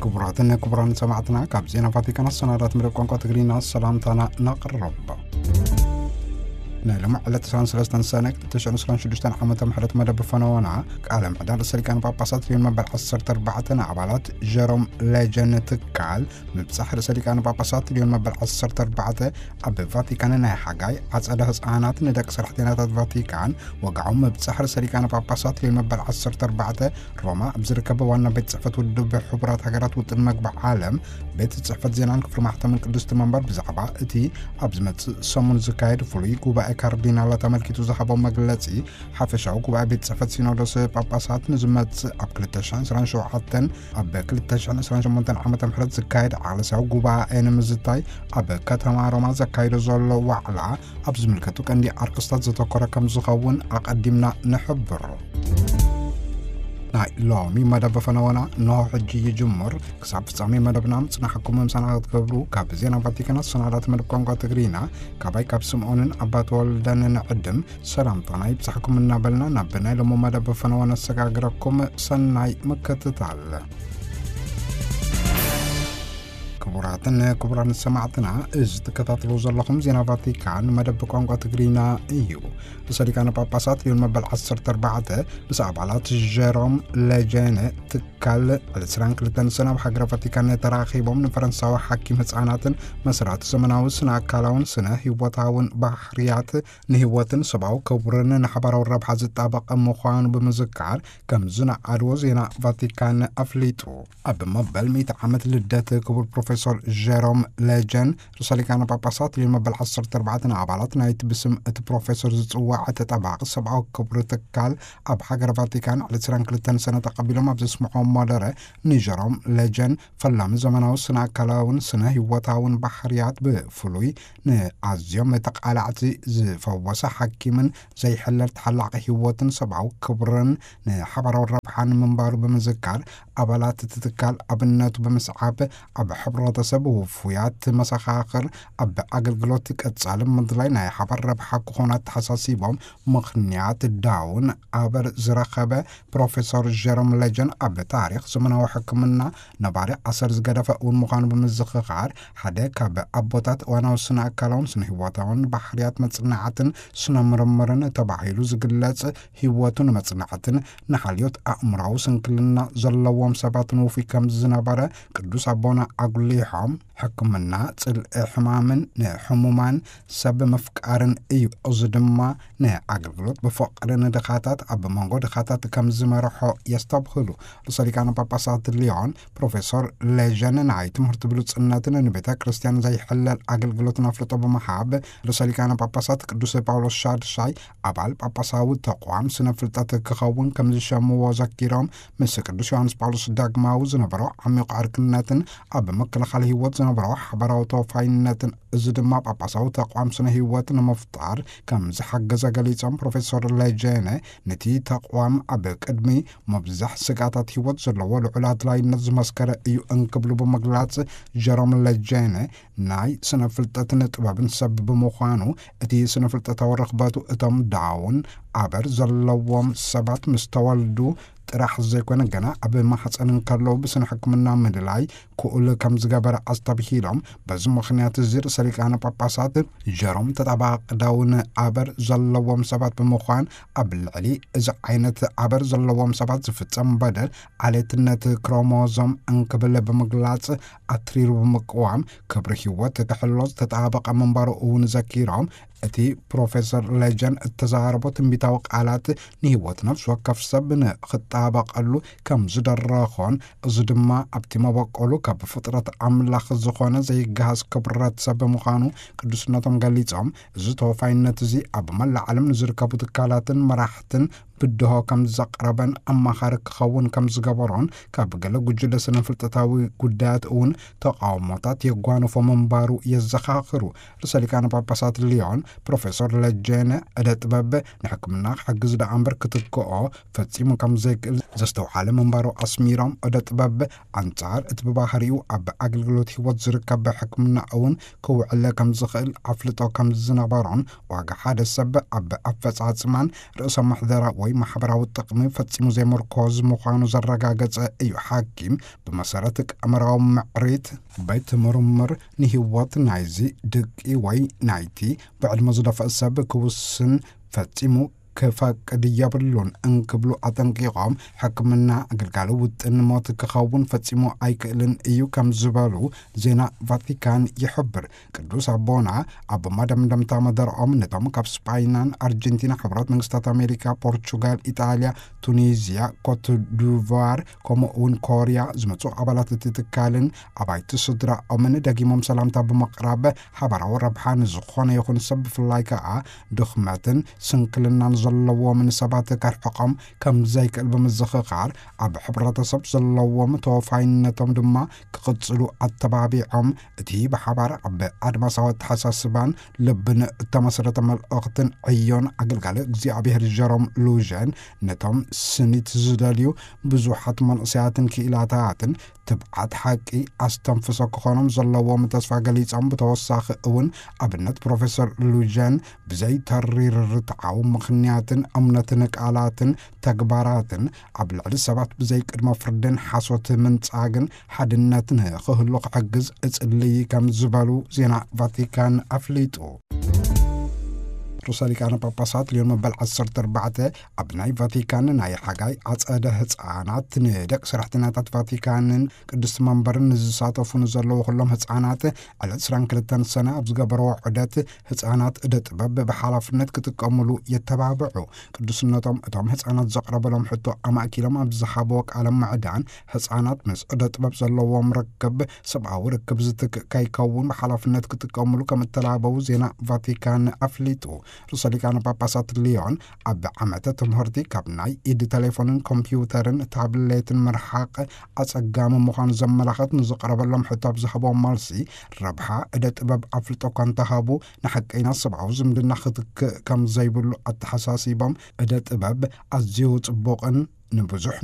ክቡራትን ክቡራን ሰማዕትና፣ ካብ ዜና ቫቲካን ኣሰናዳት መደብ ቋንቋ ትግርኛ ሰላምታና ነቕርብ። ናይ ሎሚ ዕለት ዕስራን ሰለስተን ሰነ ክልተ ሽሕን ዕስራን ሽዱሽተን ዓመተ ምህረት መደብ ፈነወና፣ ቃለ ምዕዳን ርእሰ ሊቃነ ጳጳሳት ልዮን መበል ዓሰርተ ኣርባዕተ ንኣባላት ጀሮም ሌጀን ትካል ምብጻሕ ርእሰ ሊቃነ ጳጳሳት ልዮን መበል ዓሰርተ ኣርባዕተ ኣብ ቫቲካን ናይ ሓጋይ ዓጸደ ህጻናት ንደቂ ሰራሕተኛታት ቫቲካን ወግዓዊ ምብጻሕ ርእሰ ሊቃነ ጳጳሳት ልዮን መበል ዓሰርተ ኣርባዕተ ሮማ ኣብ ዝርከብ ዋና ቤት ጽሕፈት ውድብ ሕቡራት ሃገራት ውጥን መግቢ ዓለም ቤት ጽሕፈት ዜናን ክፍሊ ማሕተምን ቅድስቲ መንበር ብዛዕባ እቲ ኣብ ዝመጽእ ሰሙን ዝካየድ ፍሉይ ጉባኤ ካርዲናላት ኣመልኪቱ ዝሃቦ መግለጺ፣ ሓፈሻዊ ጉባኤ ቤት ጽሕፈት ሲኖዶስ ጳጳሳት ንዝመጽእ ኣብ ክልተ ሽሕን ዕስራን ሸውዓተን ኣብ ክልተ ሽሕን ዕስራን ሸሞንተን ዓመተ ምህረት ዝካየድ ዓለሳዊ ጉባኤ ንምዝታይ ኣብ ከተማ ሮማ ዘካይዶ ዘሎ ዋዕላ ኣብ ዝምልከቱ ቀንዲ ኣርእስታት ዘተኮረ ከም ዝኸውን ኣቐዲምና ንሕብር። ናይ ሎሚ መደብ ፈነወና እንሆ ሕጂ ይጅምር። ክሳብ ፍጻሜ መደብና ምጽናሕኩም ምሳና ክትገብሩ ካብ ዜና ቫቲካን ኣሰናዳት መደብ ቋንቋ ትግርኛ ካባይ ካብ ስምዖንን ኣባት ወልደን ንዕድም ሰላምታና ይብጻሕኩም እናበልና ናብ ናይ ሎሚ መደብ ፈነወ ነሰጋግረኩም። ሰናይ ምክትታል። ክቡራትን ክቡራን ሰማዕትና፣ እዚ ትከታተሉ ዘለኹም ዜና ቫቲካን መደብ ቋንቋ ትግርኛ እዩ። ርእሰ ሊቃነ ጳጳሳት ልዮን መበል ዓሰርተ ኣርባዕተ ምስ ኣባላት ጀሮም ሌጀን ትካል ዕለት ዕስራን ክልተን ሰነ ኣብ ሃገረ ቫቲካን ተራኺቦም ንፈረንሳዊ ሓኪም ህጻናትን መስራቲ ዘመናዊ ስነ ኣካላውን ስነ ህይወታውን ባህርያት ንህይወትን ሰብኣዊ ክብርን ንሓባራዊ ረብሓ ዝጣበቐ ምዃኑ ብምዝካር ከም ዝነኣድዎ ዜና ቫቲካን ኣፍሊጡ። ኣብ መበል ሚእቲ ዓመት ልደት ክቡር ፕሮፌሰር ጀሮም ሌጀን ርእሰ ሊቃነ ጳጳሳት ልዮን መበል ዓሰርተ ኣርባዕተ ንኣባላት ናይቲ ብስም እቲ ፕሮፌሰር ዝጽዋዕ ተጣባቂ ሰብኣዊ ክብሪ ትካል ኣብ ሃገረ ቫቲካን ዕለት ዕስራን ክልተን ሰነ ተቐቢሎም ኣብ ዘስምዖም መደረ ንጀሮም ሌጀን ፈላሚ ዘመናዊ ስነ ኣካላውን ስነ ህይወታውን ባህርያት ብፍሉይ ንኣዝዮም ተቓላዕቲ ዝፈወሰ ሓኪምን ዘይሕለል ተሓላቒ ህይወትን ሰብኣዊ ክብርን ንሓባራዊ ረብሓን ምንባሩ ብምዝካር ኣባላት እቲ ትካል ኣብነቱ ብምስዓብ ኣብ ሕብረተሰብ ውፉያት መሰኻኽር ኣብ ኣገልግሎት ቀጻሊ ምድላይ ናይ ሓባር ረብሓ ክኾኑ ኣተሓሳሲቦም ምኽንያት ዳውን ኣበር ዝረኸበ ፕሮፌሰር ጀሮም ሌጀን ኣብ ታሪኽ ዘመናዊ ሕክምና ነባሪ ኣሰር ዝገደፈ እውን ምዃኑ ብምዝኽኻር ሓደ ካብ ኣቦታት እዋናዊ ስነ ኣካላውን ስነ ህይወታውን ባህርያት መጽናዕትን ስነ ምርምርን ተባሂሉ ዝግለጽ ህይወቱ ንመጽናዕትን ንሓልዮት ኣእምራዊ ስንክልና ዘለዎም ሰባትን ውፉይ ከም ዝነበረ ቅዱስ ኣቦና ኣጉሊሖም ሕክምና ጽልኢ ሕማምን ንሕሙማን ሰብ ምፍቃርን እዩ። እዚ ድማ ንኣገልግሎት ብፍቕሪ ንድኻታት ኣብ መንጎ ድኻታት ከም ዝመርሖ የስተብህሉ። ርእሰ ሊቃነ ጳጳሳት ሊዮን ፕሮፌሰር ሌጀን ናይ ትምህርቲ ብሉጽነትን ንቤተ ክርስቲያን ዘይሕለል ኣገልግሎትን ኣፍልጦ ብምሃብ ርእሰ ሊቃነ ጳጳሳት ቅዱስ ጳውሎስ ሻድሻይ ኣባል ጳጳሳዊ ተቋም ስነ ፍልጠት ክኸውን ከም ዝሸምዎ ዘኪሮም ምስ ቅዱስ ዮሃንስ ጳውሎስ ዳግማዊ ዝነበሮ ዓሚቕ ዕርክነትን ኣብ ምክልኻል ህይወት ዝነበሮ ሓባራዊ ተወፋይነትን እዚ ድማ ጳጳሳዊ ተቋም ስነ ህይወት ንምፍጣር ከም ዝሓገዘ ገሊጾም ፕሮፌሰር ሌጀነ ነቲ ተቋም ኣብ ቅድሚ ምብዛሕ ስጋታት ህይወት ዘለዎ ልዑል ኣድላይነት ዝመስከረ እዩ እንክብሉ ብምግላጽ ጀሮም ሌጀነ ናይ ስነ ፍልጠትን ጥበብን ሰብ ብምዃኑ እቲ ስነ ፍልጠታዊ ርኽበቱ እቶም ዳውን ኣበር ዘለዎም ሰባት ምስ ተወልዱ ጥራሕ ዘይኮነ ገና ኣብ ማሕፀን እንከለዉ ብስነ ሕክምና ምልላይ ክኡል ከም ዝገበረ ኣስተብሂሎም በዚ ምኽንያት እዚ ርእሰ ሊቃነ ጳጳሳት ጀሮም ተጣባቂ ዳውን ኣበር ዘለዎም ሰባት ብምዃን ኣብ ልዕሊ እዚ ዓይነት ኣበር ዘለዎም ሰባት ዝፍጸም በደል ዓሌትነት ክሮሞዞም እንክብል ብምግላጽ ኣትሪሩ ብምቅዋም ክብሪ ህይወት ክሕሎ ዝተጣበቐ ምንባሩ እውን ዘኪሮም እቲ ፕሮፌሰር ሌጀን እተዛረቦ ትንቢታዊ ቃላት ንህይወት ነፍሲ ወከፍ ሰብ ንኽጣበቐሉ ከም ዝደረኾን እዚ ድማ ኣብቲ መበቆሉ ካብ ፍጥረት ኣምላኽ ዝኾነ ዘይገሃስ ክብረት ሰብ ብምዃኑ ቅዱስነቶም ገሊጾም እዚ ተወፋይነት እዚ ኣብ መላእ ዓለም ንዝርከቡ ትካላትን መራሕትን ብድሆ ከም ዘቕረበን ኣማኻሪ ክኸውን ከም ዝገበሮን ካብ ገለ ጉጅለ ስነ ፍልጠታዊ ጉዳያት እውን ተቃውሞታት የጓንፎ ምንባሩ የዘኻኽሩ። ርእሰ ሊቃነ ጳጳሳት ሊዮን ፕሮፌሰር ለጀነ ዕደ ጥበብ ንሕክምና ክሕግዝ ደኣ እምበር ክትክኦ ፈጺሙ ከም ዘይክእል ዘስተውዓለ ምንባሩ ኣስሚሮም ዕደ ጥበብ ኣንጻር እቲ ብባህሪኡ ኣብ ኣገልግሎት ህይወት ዝርከብ ሕክምና እውን ክውዕለ ከም ዝኽእል ኣፍልጦ ከም ዝነበሮን ዋጋ ሓደ ሰብ ኣብ ኣፈጻጽማን ርእሰ ምሕደራ ወይ ማሕበራዊ ጥቕሚ ፈጺሙ ዘይምርኮዝ ምዃኑ ዘረጋገጸ እዩ። ሓኪም ብመሰረት ቀመራዊ ምዕሪት ቤት ምርምር ንህይወት ናይዚ ድቂ ወይ ናይቲ ብዕድመ ዝደፍአ ሰብ ክውስን ፈጺሙ ክፈቅድ የብሉን እንክብሉ ኣጠንቂቖም፣ ሕክምና ግልጋሎ ውጥን ሞት ክኸውን ፈጺሙ ኣይክእልን እዩ ከም ዝበሉ ዜና ቫቲካን ይሕብር። ቅዱስ ኣቦና ኣብ መደምደምታ መደርኦም ነቶም ካብ ስጳይናን ኣርጀንቲና፣ ሕቡራት መንግስታት ኣሜሪካ፣ ፖርቹጋል፣ ኢጣልያ፣ ቱኒዝያ፣ ኮት ዲቯር ከምኡ እውን ኮርያ ዝመጹ ኣባላት እቲ ትካልን ኣባይቲ ስድራኦምን ደጊሞም ሰላምታ ብምቕራብ ሓባራዊ ረብሓ ንዝኾነ ይኹን ሰብ ብፍላይ ከኣ ድኽመትን ስንክልናን ዘለዎም ንሰባት ከርሕቖም ከም ዘይክእል ብምዝኽኻር፣ ኣብ ሕብረተሰብ ዘለዎም ተወፋይነቶም ድማ ክቕጽሉ ኣተባቢዖም፣ እቲ ብሓባር ኣብ ኣድማሳዊ ኣተሓሳስባን ልብን እተመስረተ መልእኽትን ዕዮን ኣገልጋሊ እግዚኣብሔር ጀሮም ሉዥን ነቶም ስኒት ዝደልዩ ብዙሓት መንእሰያትን ክኢላታትን ትብዓት ሓቂ ኣስተንፍሶ ክኾኖም ዘለዎም ተስፋ ገሊጾም፣ ብተወሳኺ እውን ኣብነት ፕሮፌሰር ሉጀን ብዘይተሪር ርትዓዊ ምኽንያትን እምነትን ቃላትን ተግባራትን ኣብ ልዕሊ ሰባት ብዘይቅድመ ፍርድን ሓሶት ምንጻግን ሓድነት ንኽህሉ ክሕግዝ እጽልይ ከም ዝበሉ ዜና ቫቲካን ኣፍሊጡ። ርእሰ ሊቃነ ጳጳሳት ሊዮን መበል ዓሰርተ ኣርባዕተ ኣብ ናይ ቫቲካን ናይ ሓጋይ ኣጸደ ህጻናት ንደቂ ሰራሕተኛታት ቫቲካንን ቅድስቲ መንበርን ንዝሳተፉ ንዘለዉ ኩሎም ህጻናት ዕለት ዕስራን ክልተን ሰነ ኣብ ዝገበርዎ ዑደት ህጻናት እደ ጥበብ ብሓላፍነት ክጥቀሙሉ የተባብዑ። ቅዱስነቶም እቶም ህጻናት ዘቕረበሎም ሕቶ ኣማእኪሎም ኣብ ዝሃብዎ ቃለ ምዕዳን፣ ህጻናት ምስ እደ ጥበብ ዘለዎም ርክብ ሰብኣዊ ርክብ ዝትክእ ከይከውን ብሓላፍነት ክጥቀሙሉ ከም እተላበዉ ዜና ቫቲካን ኣፍሊጡ። ርእሰ ሊቃነ ጳጳሳት ሊዮን ኣብ ዓመተ ትምህርቲ ካብ ናይ ኢድ ቴሌፎንን ኮምፒውተርን ታብሌትን ምርሓቕ ኣጸጋሚ ምዃኑ ዘመላኸት ንዝቐረበሎም ሕቶ ኣብ ዝሃቦም መልሲ፣ ረብሓ እደ ጥበብ ኣፍልጦ እኳ እንተሃቡ፣ ንሓቀይና ሰብኣዊ ዝምድና ክትክእ ከም ዘይብሉ ኣተሓሳሲቦም፣ እደ ጥበብ ኣዝዩ ጽቡቕን ንብዙሕ